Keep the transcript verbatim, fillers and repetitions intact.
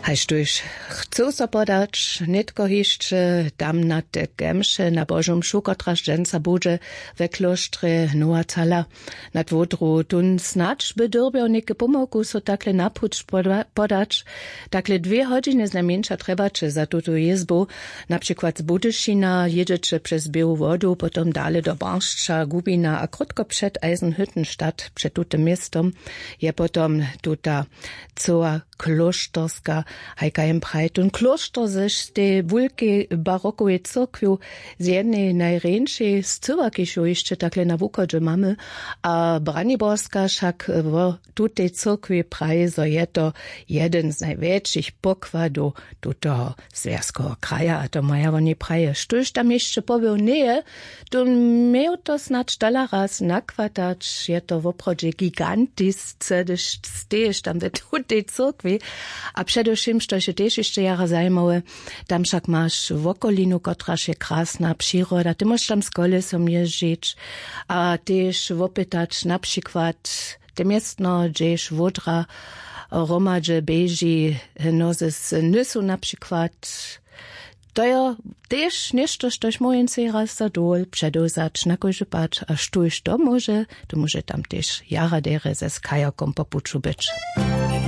Haž tuž chcył so podać nětko hišće tamnate kemše na božu mšu kotraž dźensa budźe we klóštrje nowa cala nad wodru tón snadź by dyrbjał něke pomałku so takle na puć podać. Takle dwě hodźiny znajmjeńša trjebaće za tutu jězbu. Na přikład z budyšina jědźeće přez běłu wodu potom dale do baršća gubina a krótko před eisenhüttenstadt před tutym městom je potom tuta cyła klóšterska. Hajka jem prajtun klóšter zež tej wulkej barokowej cyrkwju z jednej najrjeńšej scyła kiž ju hišće takle na wuchodźe mamy. A braniborska wšak wo tutej cyrkwi praji zo je to jeden z najwjetšich pokładow tutoho zwjazkoweho kraja a to maja woni praje štóž tam hišće pobył njeje. Tón měł to snadź dala raz nakwatać je to woprawdźe gigantisce hdyž stejiš tam we tutej cyrkwi. A předewšěm štož je tež hišće jara zajimawe, tam wšak maš wokolinu kotraž je krasna přiroda ty móžeš tam z kolesom jězdźić a tež wopytać na přikład te městno hdźež wódra hromadźe běži hnozy z nysu na přikład. To jo tež něšto štož móhł jen sej raz za dowol předewzać na kóždy pad a štóž to móže to móže tam tež jara derje ze skajokom po puću być.